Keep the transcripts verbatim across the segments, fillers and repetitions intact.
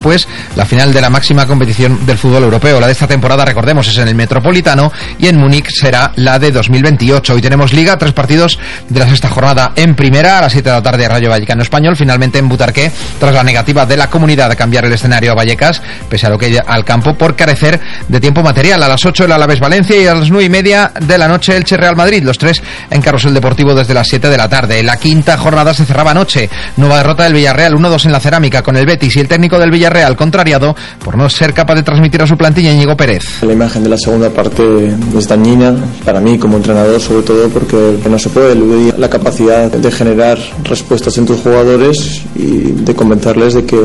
Pues la final de la máxima competición del fútbol europeo, la de esta temporada, recordemos, es en el Metropolitano, y en Múnich será la de dos mil veintiocho. Hoy tenemos Liga, tres partidos de la sexta jornada. En primera, a las siete de la tarde, Rayo Vallecano Español, finalmente en Butarque, tras la negativa de la comunidad de cambiar el escenario a Vallecas, pese a lo que hay al campo, por carecer de tiempo material. A las ocho el Alavés Valencia y a las nueve y media de la noche Elche Real Madrid, los tres en Carrusel Deportivo desde las siete de la tarde. La quinta jornada se cerraba anoche, nueva derrota del Villarreal, uno dos en la Cerámica, con el Betis y el técnico del Villarreal Real contrariado por no ser capaz de transmitir a su plantilla Íñigo Pérez. La imagen de la segunda parte es dañina para mí como entrenador, sobre todo porque no se puede eludir la capacidad de generar respuestas en tus jugadores y de convencerles de que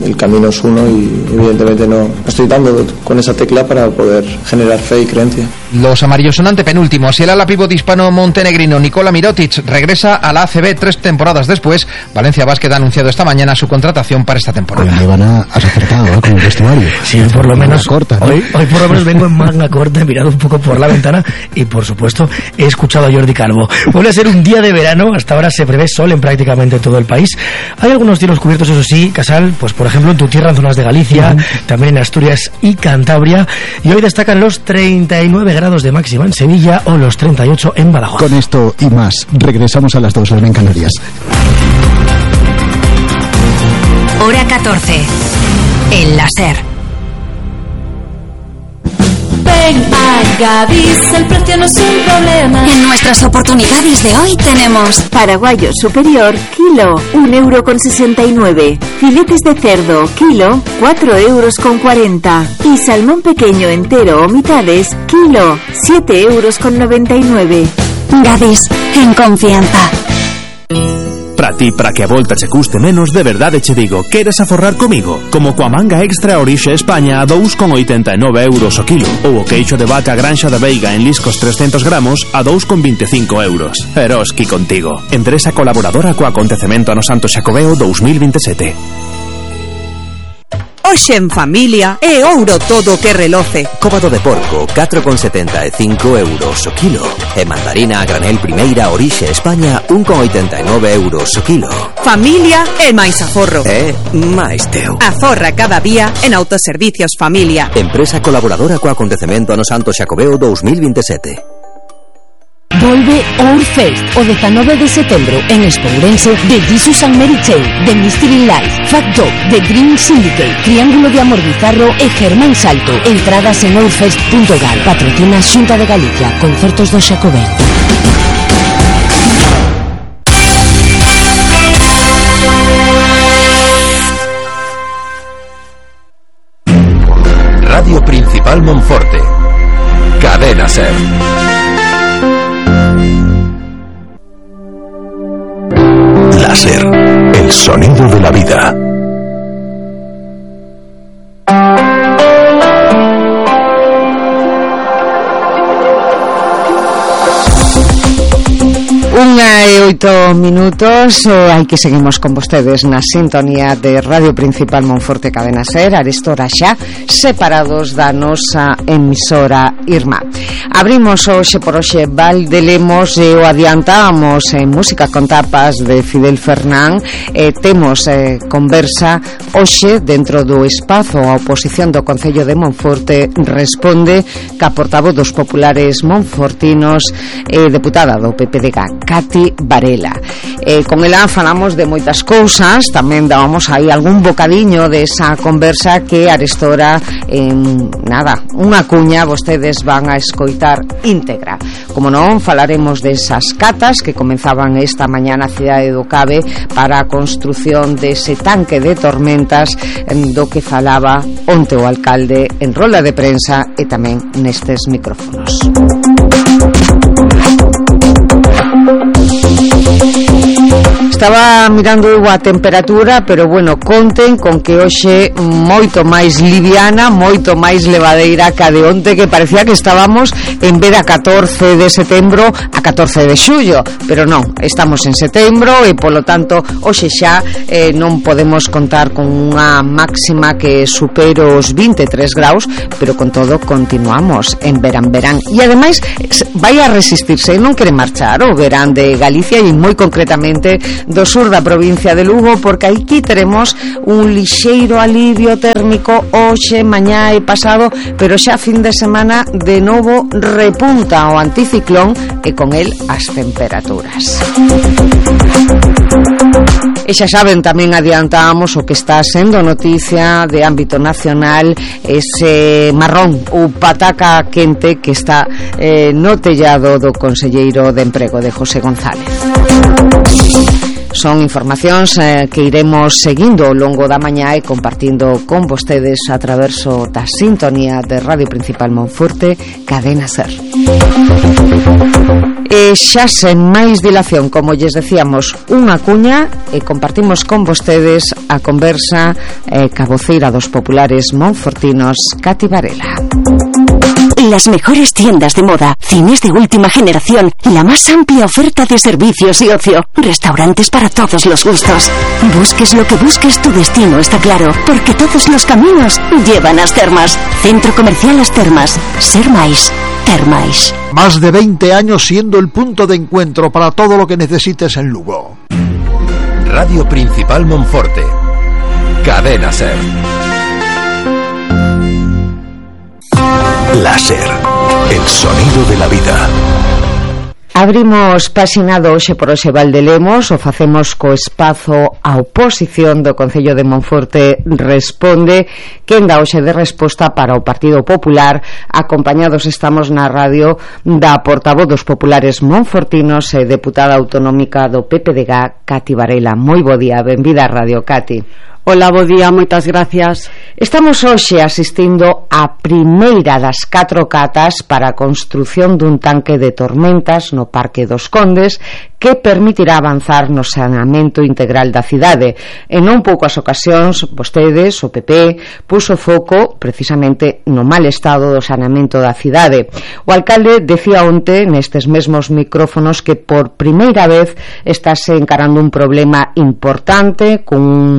el camino es uno, y evidentemente no estoy dando con esa tecla para poder generar fe y creencia. Los amarillos son antepenúltimos y el ala pívot hispano-montenegrino Nikola Mirotic regresa a la A C B tres temporadas después. Valencia Basket ha anunciado esta mañana su contratación para esta temporada. Hoy me van a acertado, ¿eh? Con el vestuario. Sí, por lo menos corta, ¿no? hoy, hoy por lo menos vengo en manga corta, he mirado un poco por la ventana y por supuesto he escuchado a Jordi Calvo. Vuelve a ser un día de verano, hasta ahora se prevé sol en prácticamente todo el país. Hay algunos cielos cubiertos, eso sí, Casal, pues por ejemplo en tu tierra, en zonas de Galicia, uh-huh. también en Asturias y Cantabria, y hoy destacan los treinta y nueve grados de máxima en Sevilla o los treinta y ocho en Badajoz. Con esto y más, regresamos a las dos, las en Canarias. Hora catorce. El láser. Ven a Gadis, el precio no es un problema. En nuestras oportunidades de hoy tenemos paraguayo superior, kilo, un euro con sesenta y nueve. Filetes de cerdo, kilo, cuatro euros con cuarenta. Y salmón pequeño entero o mitades, kilo, siete euros con noventa y nueve. Gadis, en confianza. Para ti, para que a volta se custe menos, de verdade che digo, queres aforrar comigo? Como coa manga extra Orixe España a dous con oitenta e nove euros o kilo, ou o queixo de vaca Granxa da Veiga en liscos trescentos gramos a dous con vinte e cinco euros. Eroski contigo. Empresa colaboradora co acontecemento ano Santo Xacobeo dous mil vinte e sete. Hoxe en familia é ouro todo que reloce. Cóbado de porco, catro con setenta e cinco euros o kilo. E mandarina a granel primeira Orixe España, un con oitenta e nove euros o kilo. Familia e máis aforro. É máis teu. Aforra cada día en Autoservicios Familia. Empresa colaboradora co acontecemento ano Santo Xacobeo dous mil vinte e sete. Volve Ourfest o dezanove de setembro en Espourense, de Jesus and Mary Chain, de Mystery Life, Fat Dog, The Dream Syndicate, Triángulo de Amor Bizarro e Germán Salto. Entradas en ourfest punto gal. Patrocina Xunta de Galicia. Concertos do Xacobeo. Radio Principal Monforte. Cadena Ser. Láser, el sonido de la vida. Unha e oito minutos, eh, hai que seguimos con vostedes na sintonía de Radio Principal Monforte Cadena Ser, arestora xa separados da nosa emisora Irmá. Abrimos hoxe por hoxe Valde Lemos e o adiantamos en música con tapas de Fidel Fernán. eh, temos eh, conversa hoxe dentro do espazo. A oposición do Concello de Monforte responde ca portavoz dos populares monfortinos e eh, deputada do P P D G, Cati Varela. Eh, con ela falamos de moitas cousas, tamén dábamos aí algún bocadiño desa conversa que arestora en nada, unha cuña vostedes van a escoitar íntegra. Como non, falaremos desas catas que comenzaban esta mañá na cidade do Cabe para a construción dese tanque de tormentas do que falaba onte o alcalde en rola de prensa e tamén nestes micrófonos. Estaba mirando eu a temperatura, pero bueno, conten con que hoxe moito máis liviana, moito máis levadeira ca de onte, que parecía que estábamos en vez da catorce de setembro a catorce de xullo, pero non, estamos en setembro e polo tanto hoxe xa eh, non podemos contar con unha máxima que supere os vinte e tres graus, pero con todo continuamos en verán verán e ademais vai a resistirse, non quere marchar o verán de Galicia e moi concretamente do sur da provincia de Lugo, porque aquí teremos un lixeiro alivio térmico hoxe, mañá e pasado, pero xa fin de semana de novo repunta o anticiclón e con el as temperaturas. E xa saben, tamén adiantamos o que está sendo noticia de ámbito nacional, ese marrón ou pataca quente que está eh, no tellado do conselleiro de Emprego, de José González. Son informacións eh, que iremos seguindo ao longo da mañá e compartindo con vostedes a traverso da sintonía de Radio Principal Monforte, Cadena Ser. E xa sen máis dilación, como lles decíamos, unha cuña e compartimos con vostedes a conversa eh, ca voceira dos populares monfortinos, Cati Varela. Las mejores tiendas de moda, cines de última generación, la más amplia oferta de servicios y ocio, restaurantes para todos los gustos. Busques lo que busques, tu destino está claro, porque todos los caminos llevan a As Termas. Centro Comercial As Termas. Ser máis, ter máis. Más de veinte años siendo el punto de encuentro para todo lo que necesites en Lugo. Radio Principal Monforte. Cadena Ser. Láser, el sonido de la vida. Abrimos pasinado hoxe por hoxe Valdelemos, o facemos co espazo a oposición do Concello de Monforte Responde, que dá hoxe de resposta para o Partido Popular. Acompañados estamos na radio da portavoz dos populares monfortinos e deputada autonómica do P P D G, Cati Varela. Moi bo día, benvida a Radio, Cati. Hola, bo día, moitas gracias. Estamos hoxe asistindo a primeira das catro catas para a construción dun tanque de tormentas no Parque dos Condes que permitirá avanzar no saneamento integral da cidade. En non poucas ocasións, vostedes, o P P, puso foco precisamente no mal estado do saneamento da cidade. O alcalde decía onte nestes mesmos micrófonos que por primeira vez estáse encarando un problema importante con un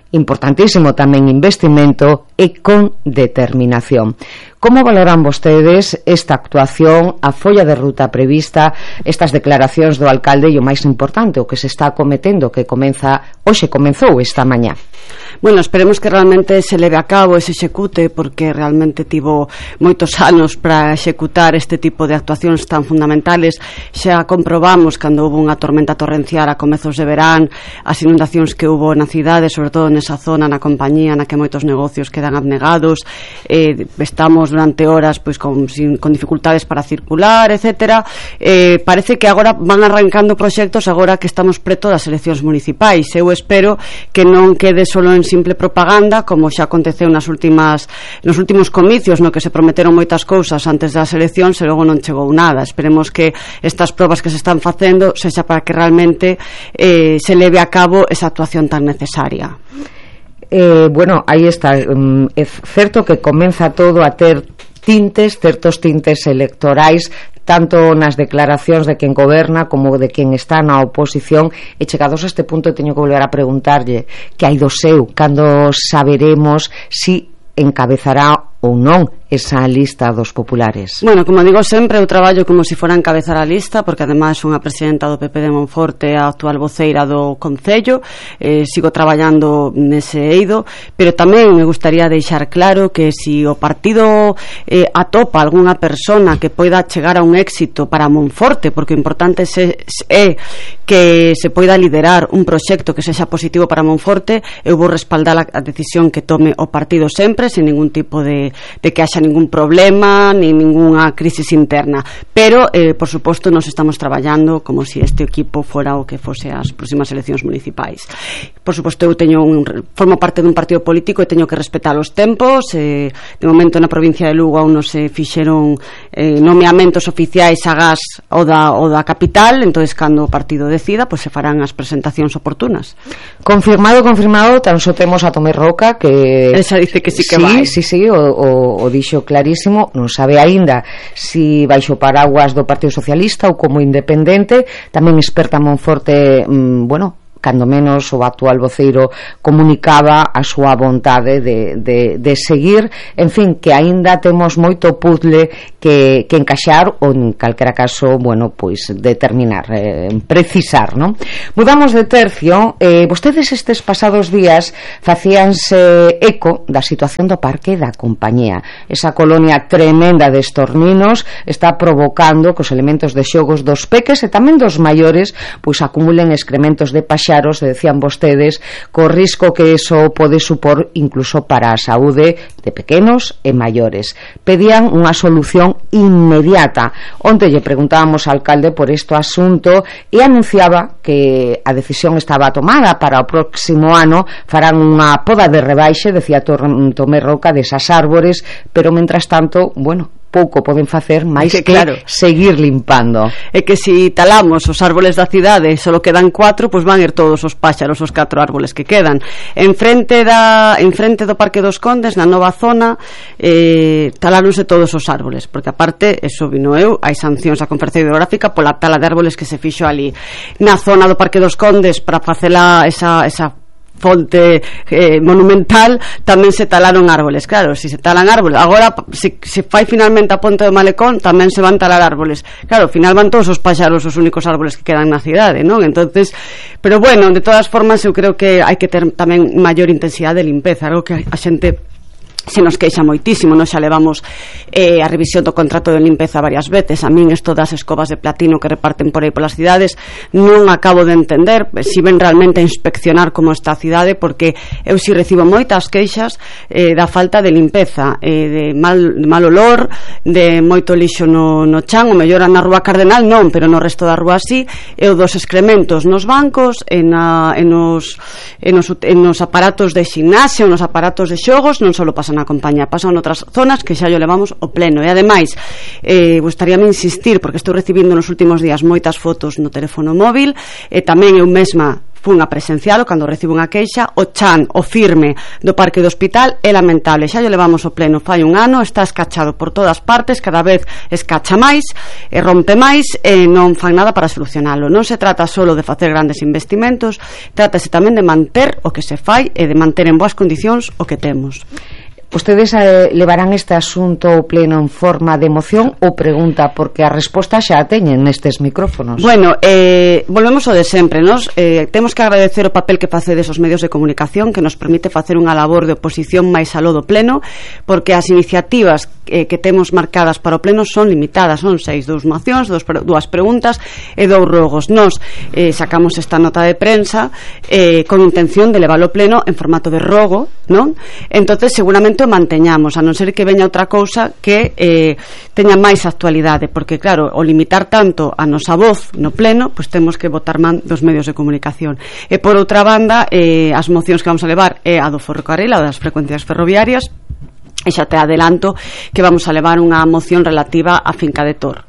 importantísimo tamén investimento e con determinación. Como valoran vostedes esta actuación, a folla de ruta prevista, estas declaracións do alcalde e o máis importante, o que se está acometendo, que comeza hoxe, comezou esta mañá? Bueno, esperemos que realmente se leve a cabo e se execute, porque realmente tivo moitos anos para executar este tipo de actuacións tan fundamentales. Xa comprobamos cando houve unha tormenta torrencial a comezos de verán, as inundacións que houve na cidade, sobre todo nesa zona, na compañía, na que moitos negocios quedan abnegados, eh, estamos durante horas pois con, sin, con dificultades para circular, etcétera. Eh, parece que agora van arrancando proxectos agora que estamos preto das eleccións municipais. Eu espero que non quede solo en simple propaganda, como xa aconteceu nas últimas nos últimos comicios, no que se prometeron moitas cousas antes das eleccións e logo non chegou nada. Esperemos que estas probas que se están facendo sexa para que realmente eh, se leve a cabo esa actuación tan necesaria. Eh, bueno, aí está, um, é certo que comeza todo a ter tintes, certos tintes electorais, tanto nas declaracións de quen goberna como de quen está na oposición. E chegados a este punto teño que volver a preguntarlle que hai do seu, cando saberemos si encabezará ou non esa lista dos populares. Bueno, como digo sempre, eu traballo como se si fora encabezar a lista, porque ademais son a presidenta do P P de Monforte, a actual voceira do Concello, eh, sigo traballando nese eido, pero tamén me gustaría deixar claro que se si o partido eh, atopa algunha persona que poida chegar a un éxito para Monforte, porque o importante é que se poida liderar un proxecto que sexa positivo para Monforte, eu vou respaldar a decisión que tome o partido sempre, sin ningún tipo de de que haxa ningún problema ni ninguna crisis interna, pero eh, por suposto nos estamos traballando como se si este equipo fora o que fose as próximas eleccións municipais. Por suposto eu teño un, formo parte dun partido político e teño que respetar os tempos. Eh, de momento na provincia de Lugo aún non se fixeron eh, nomeamentos oficiais agás o da, o da capital, entonces cando o partido decida pois se farán as presentacións oportunas. Confirmado, confirmado, tan só temos a Tomé Roca que esa dice que sí que sí, vai. Sí, sí, o, o, o dixo clarísimo, non sabe aínda si baixo paraguas do Partido Socialista ou como independente. Tamén experta Monforte, mmm, bueno, cando menos o actual voceiro comunicaba a súa vontade de, de, de seguir, en fin, que aínda temos moito puzzle que, que encaixar ou en calquera caso, bueno, pois determinar, eh, precisar, non? Mudamos de tercio. eh, vostedes estes pasados días facíanse eco da situación do Parque da Compañía. Esa colonia tremenda de estorninos está provocando que os elementos de xogos dos peques e tamén dos maiores pois acumulen excrementos de paxaros, decían vostedes, co risco que eso pode supor incluso para a saúde de pequenos e maiores. Pedían unha solución inmediata. Onte lle preguntábamos ao alcalde por este asunto e anunciaba que a decisión estaba tomada para o próximo ano. Farán unha poda de rebaixe, decía Tomé Roca, desas árbores, pero mentras tanto, bueno, pouco poden facer máis que, que claro, seguir limpando. É que se si talamos os árboles da cidade e só quedan cuatro, pois van ir todos os páxaros, os catro árboles que quedan. En frente da en frente do Parque dos Condes, na nova zona, eh, taláronse todos os árboles, porque aparte, eso vino eu, hai sancións á Conferencia Hidrográfica pola tala de árboles que se fixo ali. Na zona do Parque dos Condes, para facela esa esa fonte eh, monumental, tamén se talaron árboles. Claro, se se talan árboles, agora se, se fai finalmente a ponte do Malecón, tamén se van talar árboles. Claro, ao final van todos os paxaros os únicos árboles que quedan na cidade, non? Entonces, pero bueno, de todas formas eu creo que hai que ter tamén maior intensidade de limpeza, algo que a xente se nos queixa moitísimo. Nos xa levamos eh, a revisión do contrato de limpeza varias veces. A min isto das escobas de platino que reparten por aí polas cidades non acabo de entender se ven realmente a inspeccionar como está a cidade, porque eu si recibo moitas queixas eh, da falta de limpeza, eh, de, mal, de mal olor, de moito lixo no, no chan, o mellor na Rúa Cardenal non, pero no resto da rúa sí, e o dos excrementos nos bancos, en, a, en, os, en, os, en os aparatos de ximnasio, nos aparatos de xogos, non só pasan na Compañía, pasan outras zonas que xa yo levamos o pleno. E ademais, eh, gustaríame insistir, porque estou recibindo nos últimos días moitas fotos no teléfono móvil, e tamén eu mesma fun a presencialo cando recibo unha queixa. O chan, o firme do Parque do Hospital é lamentable, xa yo levamos o pleno fai un ano, está escachado por todas partes, cada vez escacha máis e rompe máis e non fan nada para solucionalo. Non se trata solo de facer grandes investimentos, trátase tamén de manter o que se fai e de manter en boas condicións o que temos. Ustedes eh, levarán este asunto ao pleno en forma de moción ou pregunta, porque a resposta xa a teñen nestes micrófonos. Bueno, eh, volvemos ao de sempre, nos eh, temos que agradecer o papel que facedes os medios de comunicación, que nos permite facer unha labor de oposición máis aló do pleno, porque as iniciativas eh, que temos marcadas para o pleno son limitadas, son seis, dous mocións, dos, dúas preguntas e dous rogos. Nos eh, sacamos esta nota de prensa eh, con intención de levar o pleno en formato de rogo, non? Entonces seguramente o manteñamos, a non ser que veña outra cousa que eh, teña máis actualidade, porque claro, o limitar tanto a nosa voz no pleno, pois temos que botar man dos medios de comunicación. E por outra banda, eh, as mocións que vamos a levar é a do ferrocarril, a das frecuencias ferroviarias, e xa te adelanto que vamos a levar unha moción relativa á finca de Tor,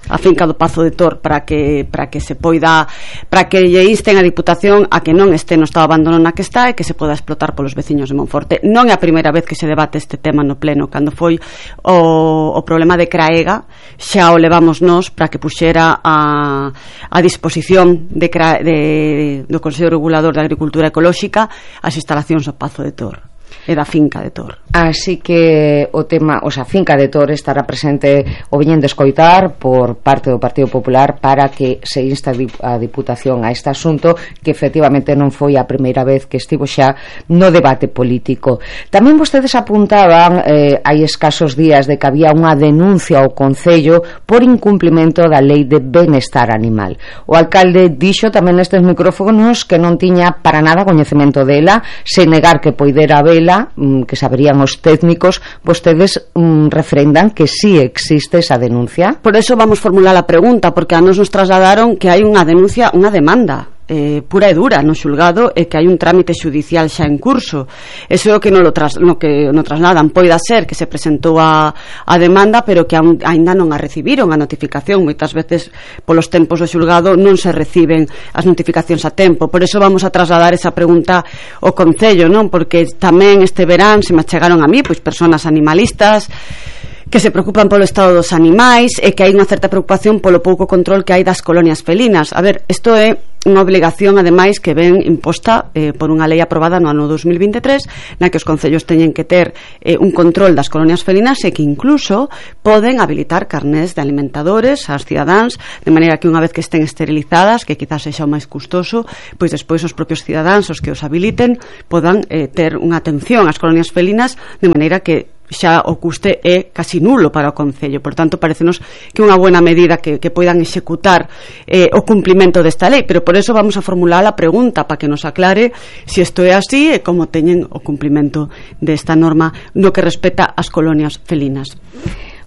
a finca do Pazo de Tor, para que para que se poida, para que lle insten a Diputación a que non este no estado abandono na que está e que se poda explotar polos veciños de Monforte. Non é a primeira vez que se debate este tema no pleno. Cando foi o, o problema de Craega, xa o levamos nós para que puxera a, a disposición de, de, do Consello Regulador de Agricultura Ecolóxica as instalacións do Pazo de Tor e da finca de Tor. Así que o tema, o sea, finca de Tor estará presente o viñen de escoitar por parte do Partido Popular para que se insta a Diputación a este asunto, que efectivamente non foi a primeira vez que estivo xa no debate político. Tamén vostedes apuntaban eh, hai escasos días de que había unha denuncia ao Concello por incumplimento da Lei de Benestar Animal. O alcalde dixo tamén nestes micrófonos que non tiña para nada coñecemento dela, sen negar que poidera vela, que saberían os técnicos. Vostedes mm, refrendan que sí existe esa denuncia. Por eso vamos formular a pregunta, porque a nos nos trasladaron que hai unha denuncia, unha demanda eh, pura e dura no xulgado e que hai un trámite xudicial xa en curso. Eso é o que non lo tras, no que no trasladan. Poida ser que se presentou a, a demanda, pero que aún, ainda non a recibiron a notificación. Moitas veces polos tempos do xulgado non se reciben as notificacións a tempo. Por eso vamos a trasladar esa pregunta ao Concello, non? Porque tamén este verán se me chegaron a mí pois persoas animalistas que se preocupan polo estado dos animais e que hai unha certa preocupación polo pouco control que hai das colonias felinas. A ver, isto é unha obligación ademais que ven imposta eh, por unha lei aprobada no ano dos mil vinte e tres, na que os concellos teñen que ter eh, un control das colonias felinas e que incluso poden habilitar carnés de alimentadores ás cidadáns, de maneira que unha vez que estén esterilizadas, que quizás sexa o máis custoso, pois despois os propios cidadáns os que os habiliten podan eh, ter unha atención ás colonias felinas, de maneira que xa o custe é casi nulo para o Concello. Por tanto, parecenos que unha buena medida que, que poidan executar eh, o cumplimento desta lei, pero por eso vamos a formular a pregunta para que nos aclare se si isto é así e como teñen o cumplimento desta norma no que respecta ás colonias felinas.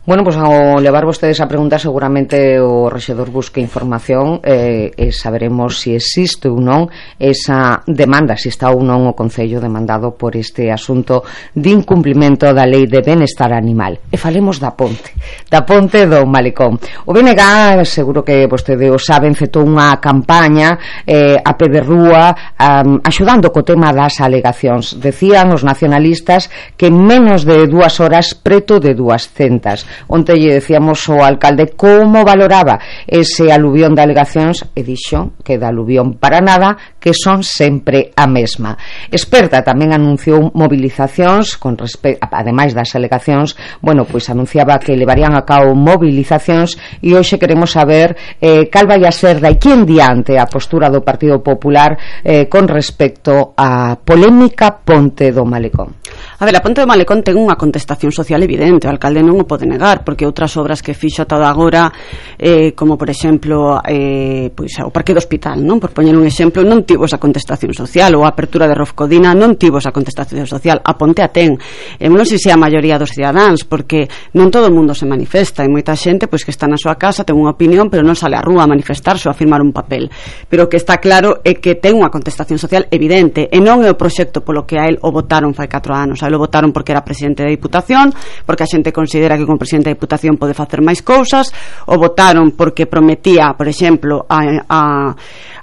Bueno, pues ao levar vostedes a pregunta seguramente o rexedor busque información eh, e saberemos se si existe ou non esa demanda, se si está ou non o Concello demandado por este asunto de incumplimento da Lei de Benestar Animal. E falemos da ponte, da ponte do Malecón. O B N G, seguro que vostede o sabe, enfetou unha campaña eh, a pé de rúa um, axudando co tema das alegacións. Decían os nacionalistas que en menos de dúas horas preto de duascentas. Onte lle decíamos ao alcalde como valoraba ese aluvión de alegacións e dixo que da aluvión para nada, que son sempre a mesma. Experta tamén anunciou movilizacións con respecto, ademais das alegacións, bueno, pois anunciaba que levarían a cabo movilizacións e hoxe queremos saber eh, cal vai a ser de aquí en diante a postura do Partido Popular eh, con respecto á polémica ponte do Malecón. A ver, a ponte do Malecón ten unha contestación social evidente, o alcalde non o pode negar, porque outras obras que fixo ata agora, eh, como por exemplo eh, pois, o parque do hospital, non, por poñer un exemplo, non tivo esa contestación social, ou a apertura de Rofcodina non tivo esa contestación social. A ponte a ten, e non sei se a maioría dos cidadáns, porque non todo o mundo se manifesta, e moita xente pois que está na súa casa, ten unha opinión, pero non sale á rúa a manifestarse ou a firmar un papel. Pero o que está claro é que ten unha contestación social evidente, e non é o proxecto polo que a él o votaron fai catro anos. A él o votaron porque era presidente da Diputación, porque a xente considera que como presidente da Diputación pode facer máis cousas, o votaron porque prometía, por exemplo, a, a,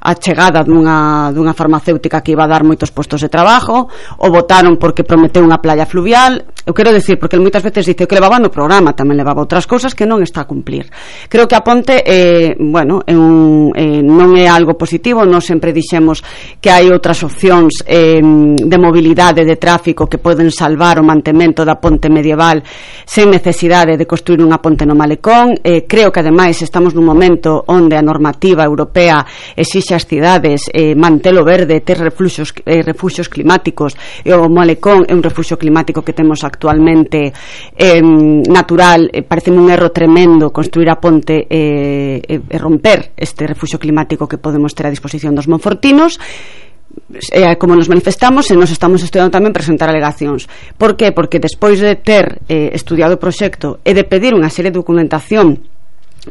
a chegada dunha, dunha farmacéutica que iba a dar moitos postos de trabajo, o votaron porque prometeu unha playa fluvial. Eu quero decir, porque moitas veces dice que levaba no programa, tamén levaba outras cousas que non está a cumplir. Creo que a ponte eh, bueno, é un, eh, non é algo positivo. Nós sempre dixemos que hai outras opcións eh, de mobilidade, de tráfico, que poden salvar o mantemento da ponte medieval sen necesidade de construir unha ponte no Malecón. Eh, creo que ademais estamos nun momento onde a normativa europea exixe ás cidades eh, mantelo verde, ter refuxos, eh, refuxos climáticos, e o Malecón é un refuxo climático que temos actualmente eh, natural. Eh, pareceme un erro tremendo construir a ponte e eh, eh, romper este refuxo climático que podemos ter a disposición dos monfortinos. Eh, como nos manifestamos, e nos estamos estudiando tamén presentar alegacións. Por que? Porque despois de ter eh, estudiado o proxecto e de pedir unha serie de documentación,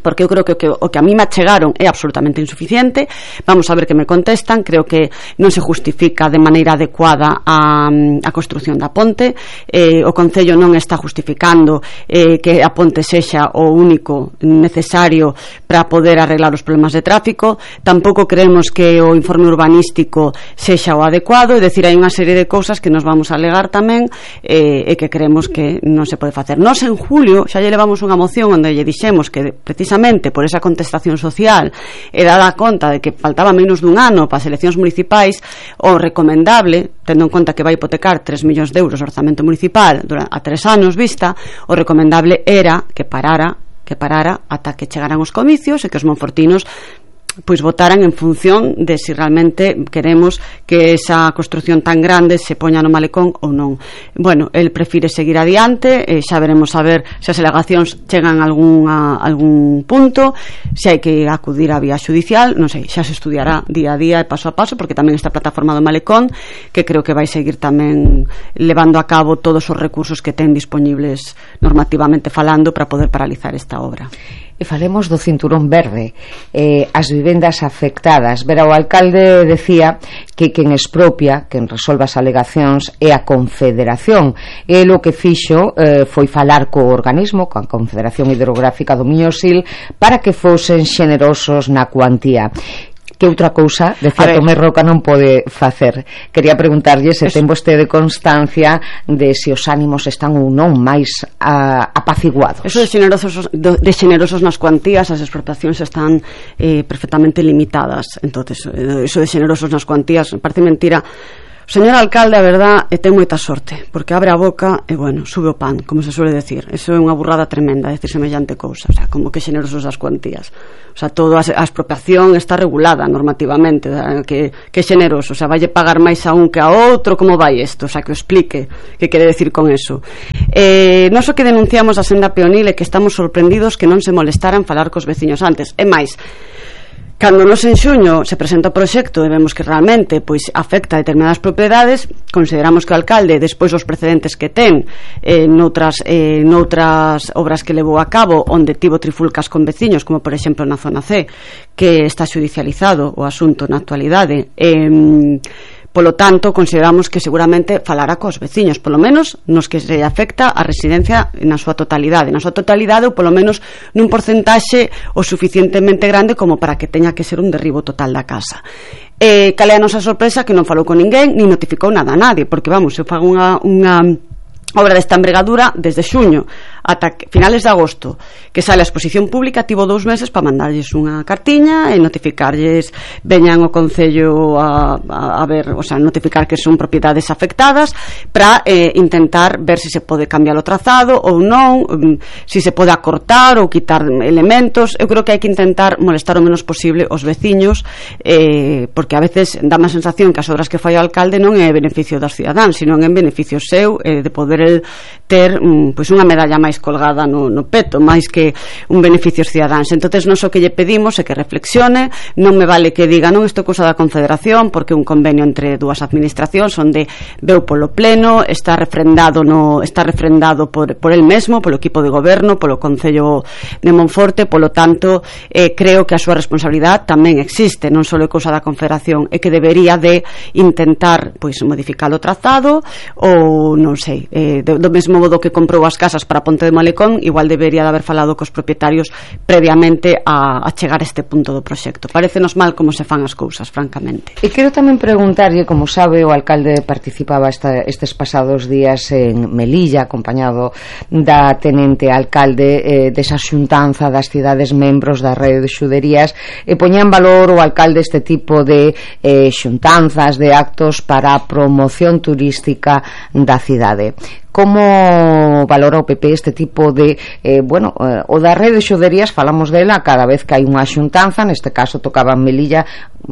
porque eu creo que o, que o que a mí me achegaron é absolutamente insuficiente. Vamos a ver que me contestan. Creo que non se justifica de maneira adecuada a, a construción da ponte. eh, o Concello non está justificando eh, que a ponte sexa o único necesario para poder arreglar os problemas de tráfico. Tampouco creemos que o informe urbanístico sexa o adecuado, é dicir, hai unha serie de cousas que nos vamos a alegar tamén eh, e que creemos que non se pode facer. Nos en julio xa lle levamos unha moción onde lle dixemos que precisamente precisamente por esa contestación social e dada conta de que faltaba menos dun ano para as eleccións municipais, o recomendable, tendo en conta que vai hipotecar tres millóns de euros o orzamento municipal a tres anos vista, o recomendable era que parara que parara ata que chegaran os comicios e que os monfortinos pois votaran en función de se si realmente queremos que esa construción tan grande se poña no Malecón ou non. Bueno, el prefire seguir adiante, e xa veremos a ver se as alegacións chegan a algún, a algún punto, se hai que acudir á vía judicial, non sei, xa se estudiará día a día e paso a paso, porque tamén esta plataforma do Malecón, que creo que vai seguir tamén levando a cabo todos os recursos que ten disponibles normativamente falando para poder paralizar esta obra. E falemos do cinturón verde, eh, as vivendas afectadas. Vera, o alcalde decía que quen expropia, quen resolve as alegacións é a Confederación. E o que fixo eh, foi falar co organismo, coa Confederación Hidrográfica do Miñosil, para que fosen xenerosos na cuantía. Que outra cousa, decía Tomé Roca, non pode facer. Quería preguntarlle se ten vostede constancia de se os ánimos están ou non máis a, a apaciguados. Eso de generosos, de generosos nas cuantías, as expropiacións están eh, perfectamente limitadas. Entonces, eso de generosos nas cuantías parece mentira. O señor alcalde, a verdad, e ten moita sorte, porque abre a boca e, bueno, sube o pan, como se suele decir. Eso é unha burrada tremenda, decir semellante cousa. O sea, como que generosos as cuantías. O sea, toda a expropiación está regulada normativamente, o sea, que, que generoso. O sea, valle pagar máis a un que a outro, como vai isto? O sea, que o explique que quere decir con eso. Eh, non so que denunciamos a senda peonil e que estamos sorprendidos que non se molestaran falar cos veciños antes. É máis, cando nos en xuño se presenta o proxecto e vemos que realmente pois afecta a determinadas propiedades, consideramos que o alcalde, despois dos precedentes que ten eh, noutras, eh, noutras obras que levou a cabo onde tivo trifulcas con veciños, como por exemplo na zona C, que está xudicializado o asunto na actualidade, eh, polo tanto, consideramos que seguramente falará cos veciños, polo menos nos que se afecta a residencia na súa totalidade, na súa totalidade ou polo menos nun porcentaxe o suficientemente grande como para que teña que ser un derribo total da casa. Eh, cal é a nosa sorpresa? Que non falou con ninguén, ni notificou nada a nadie, porque vamos, eu fago unha, unha obra desta envergadura desde xuño ata finales de agosto, que sale a exposición pública, tivo dous meses para mandarlles unha cartiña e notificarlles, veñan o Concello a, a, a ver, o sea, notificar que son propiedades afectadas para eh, intentar ver se si se pode cambiar o trazado ou non, um, se si se pode acortar ou quitar elementos. Eu creo que hai que intentar molestar o menos posible os veciños, eh, porque a veces dá má sensación que as obras que fai o alcalde non é beneficio das cidadáns, sino en beneficio seu, eh, de poder el ter um, pois unha medalla máis colgada no, no peto, máis que un beneficio cidadáns. Entonces non só que lle pedimos é que reflexione, non me vale que diga non, isto é cousa da Confederación, porque é un convenio entre dúas administracións onde veu polo pleno, está refrendado no, está refrendado por, por el mesmo, polo equipo de goberno, polo Concello de Monforte, polo tanto eh, creo que a súa responsabilidade tamén existe, non só é cousa da Confederación, é que debería de intentar pois modificar o trazado ou non sei, eh, do mesmo modo que comprou as casas para Ponte de Malecón, igual debería de haber falado cos propietarios previamente a, a chegar a este punto do proxecto. Parécenos mal como se fan as cousas, francamente. E quero tamén preguntarlle, como sabe, o alcalde participaba esta, estes pasados días en Melilla, acompañado da tenente alcalde eh, desa xuntanza das cidades membros da rede de xuderías, e poñía en valor o alcalde este tipo de eh, xuntanzas, de actos para a promoción turística da cidade. Como valora o P P este tipo de eh, bueno, eh, o da rede de xuderías, falamos dela cada vez que hai unha xuntanza, neste caso tocaba en Melilla,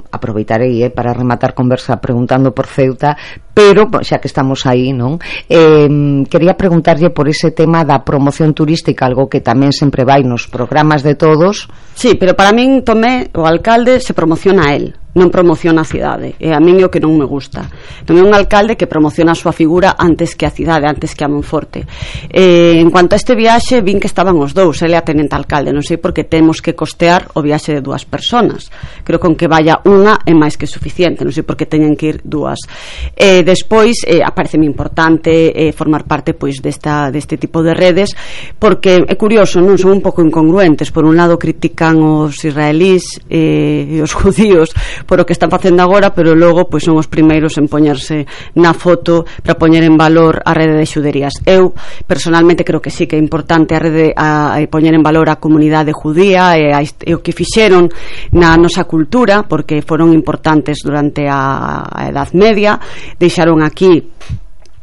aproveitarei eh, para rematar conversa preguntando por Ceuta, pero xa que estamos aí, non? Eh, quería preguntarlle por ese tema da promoción turística, algo que tamén sempre vai nos programas de todos. Sí, pero para min, Tomé, o alcalde se promociona a él, non promociona a cidade, e a min é o que non me gusta. Non é un alcalde que promociona a súa figura antes que a cidade, antes que a Monforte. Eh, en cuanto a este viaxe, vin que estaban os dous, ele a tenente alcalde, non sei por que temos que costear o viaxe de dúas personas. Creo que con que vaya unha é máis que suficiente, non sei por que teñen que ir dúas. Eh, despois, eh, apareceme importante eh, formar parte pois desta, deste tipo de redes, porque é curioso, non son un pouco incongruentes. Por un lado critican os israelís eh, e os judíos por o que están facendo agora, pero logo pois son os primeiros en poñerse na foto para poñer en valor a rede de xuderías. Eu personalmente creo que sí que é importante a rede a, a poñer en valor a comunidade judía e, a, e o que fixeron na nosa cultura, porque foron importantes durante a, a Edad Media, deixaron aquí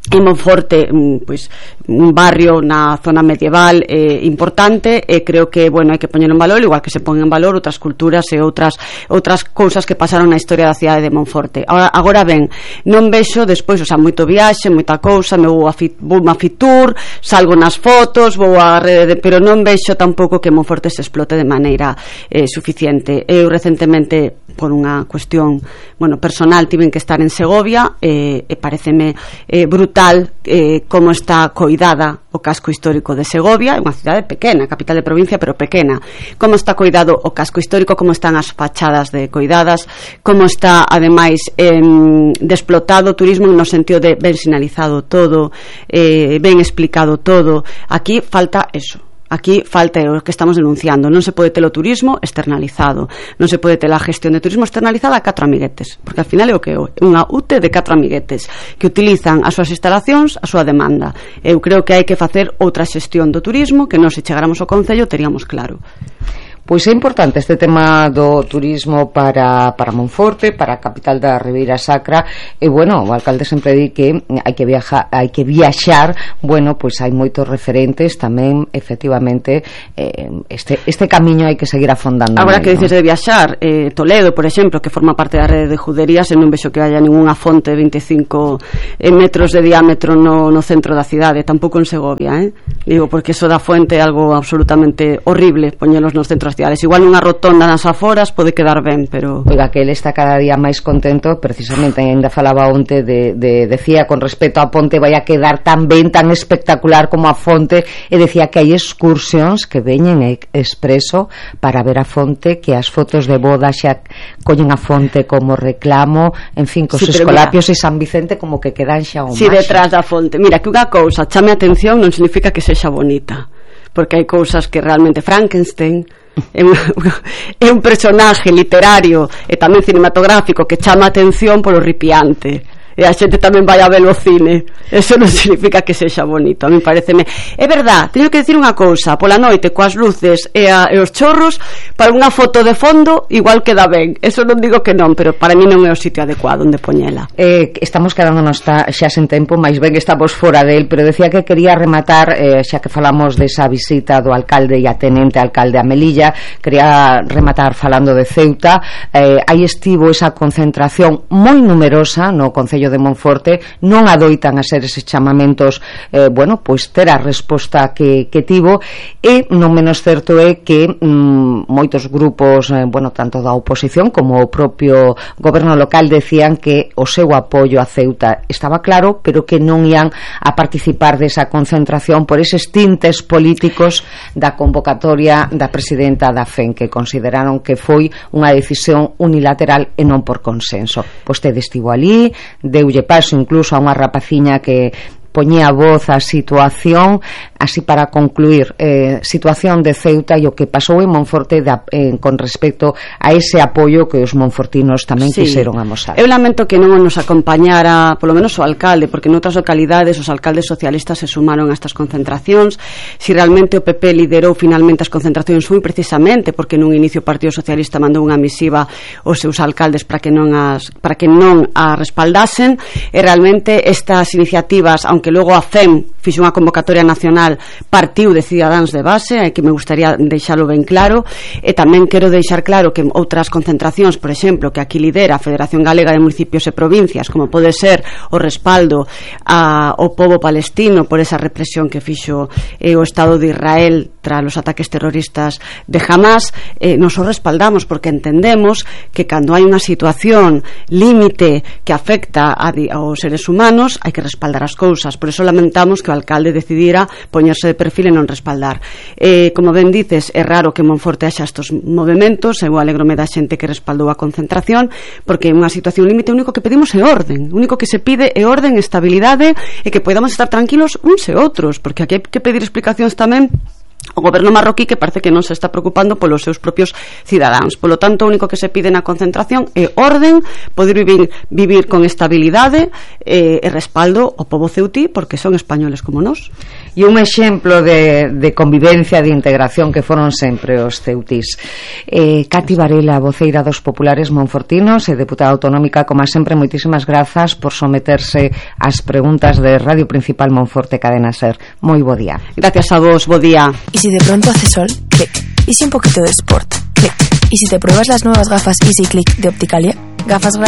en Monforte pois, un barrio na zona medieval eh, importante, e creo que bueno, hai que poñer en valor, igual que se pon en valor outras culturas e outras outras cousas que pasaron na historia da cidade de Monforte. Agora, agora ben, non vexo despois, o sea, moito viaxe, moita cousa, me vou a, fit, vou a Fitur, salgo nas fotos, vou a rede de, pero non vexo tampouco que Monforte se explote de maneira eh, suficiente. Eu recentemente, por unha cuestión bueno, personal, tiven que estar en Segovia e, e pareceme eh, brutal Eh, como está coidada o casco histórico de Segovia, é unha cidade pequena, capital de provincia, pero pequena. Como está coidado o casco histórico, como están as fachadas de coidadas, como está, ademais, eh, desplotado o turismo no sentido de ben sinalizado todo, eh, ben explicado todo. Aquí falta eso. Aquí falta o que estamos denunciando. Non se pode ter o turismo externalizado, non se pode ter a gestión de turismo externalizada a catro amiguetes, porque al final é o que é unha U T E de catro amiguetes que utilizan as súas instalacións a súa demanda. Eu creo que hai que facer outra xestión do turismo que non se chegáramos ao Concello teríamos claro. Pois é importante este tema do turismo para, para Monforte, para a capital da Ribeira Sacra, e bueno, o alcalde sempre di que hai que viajar, hai que viaxar, bueno, pois hai moitos referentes tamén, efectivamente, eh, este, este camiño hai que seguir afondando. Agora que dices de viaxar, eh, Toledo, por exemplo, que forma parte da rede de juderías, e non vexo que haya ninguna fonte de veinticinco metros de diámetro no, no centro da cidade, tampouco en Segovia, eh? Digo, porque eso da fuente é algo absolutamente horrible, poñelos nos centros igual unha rotonda nas aforas pode quedar ben, pero... Oiga, que ele está cada día máis contento, precisamente, ainda falaba onte de, de, decía, con respecto a ponte vai a quedar tan ben, tan espectacular como a fonte, e decía que hai excursións que veñen expreso para ver a fonte, que as fotos de boda xa coñen a fonte como reclamo, en fin, cos sí, escolapios mira, e San Vicente como que quedan xa o si sí, detrás da fonte. Mira, que unha cousa chame atención non significa que sexa bonita, porque hai cousas que realmente Frankenstein é un, é un personaje literario e tamén cinematográfico que chama atención polo ripiante, e a xente tamén vai a ver o cine. Eso non significa que sexa bonito. A mí pareceme, é verdad, teño que decir unha cousa, pola noite coas luces e, a, e os chorros, para unha foto de fondo igual queda ben, eso non digo que non, pero para mí non é o sitio adecuado onde poñela. Eh, estamos quedándonos ta, xa sen tempo, máis ben que estamos fora del, pero decía que quería rematar, eh, xa que falamos desa visita do alcalde e a tenente alcalde a Melilla, quería rematar falando de Ceuta. Eh, aí estivo esa concentración moi numerosa no Concello de Monforte, non adoitan a ser eses chamamentos, eh, bueno, pois ter a resposta que, que tivo, e non menos certo é que mm, moitos grupos, eh, bueno, tanto da oposición como o propio goberno local decían que o seu apoio a Ceuta estaba claro, pero que non ian a participar desa concentración por eses tintes políticos da convocatoria da presidenta da F E N, que consideraron que foi unha decisión unilateral e non por consenso. Vostede estivo ali, deulle paso incluso a unha rapaciña que poñía voz á situación, así para concluir, eh, situación de Ceuta e o que pasou en Monforte da, eh, con respecto a ese apoio que os monfortinos tamén sí. quixeron amosar. Eu lamento que non nos acompañara polo menos o alcalde, porque noutras localidades os alcaldes socialistas se sumaron a estas concentracións. Si realmente o P P liderou finalmente as concentracións foi precisamente porque nun inicio o Partido Socialista mandou unha misiva aos seus alcaldes para que non as para que non a respaldasen, e realmente estas iniciativas, aunque logo a F E M fixo unha convocatoria nacional, partiu de Cidadáns de base, e que me gustaría deixalo ben claro, e tamén quero deixar claro que outras concentracións, por exemplo, que aquí lidera a Federación Galega de Municipios e Provincias, como pode ser o respaldo ao pobo palestino por esa represión que fixo eh, o Estado de Israel tras os ataques terroristas de Hamas, eh, nos o respaldamos porque entendemos que cando hai unha situación límite que afecta a, aos seres humanos hai que respaldar as cousas. Por eso lamentamos que o alcalde decidira poñerse de perfil e non respaldar. Eh, como ben dices, é raro que Monforte haxa estos movimentos, eu alegrome da xente que respaldou a concentración, porque é unha situación límite, o único que pedimos é orden, o único que se pide é orden, estabilidade, e que podamos estar tranquilos uns e outros, porque aquí hai que pedir explicacións tamén o goberno marroquí, que parece que non se está preocupando polos seus propios cidadáns. Polo tanto, o único que se pide na concentración é orden, poder vivir, vivir con estabilidade e, e respaldo ao pobo ceutí, porque son españoles como nós. E un exemplo de, de convivencia, de integración que foron sempre os ceutís. eh, Cati Varela, voceira dos populares monfortinos e deputada autonómica, como sempre, moitísimas grazas por someterse ás preguntas de Radio Principal Monforte Cadena Ser. Moi bo día. Gracias a vos, bo día. Y si de pronto hace sol, clic. Y si un poquito de sport, clic. Y si te pruebas las nuevas gafas Easy Click de Opticalia, gafas gratis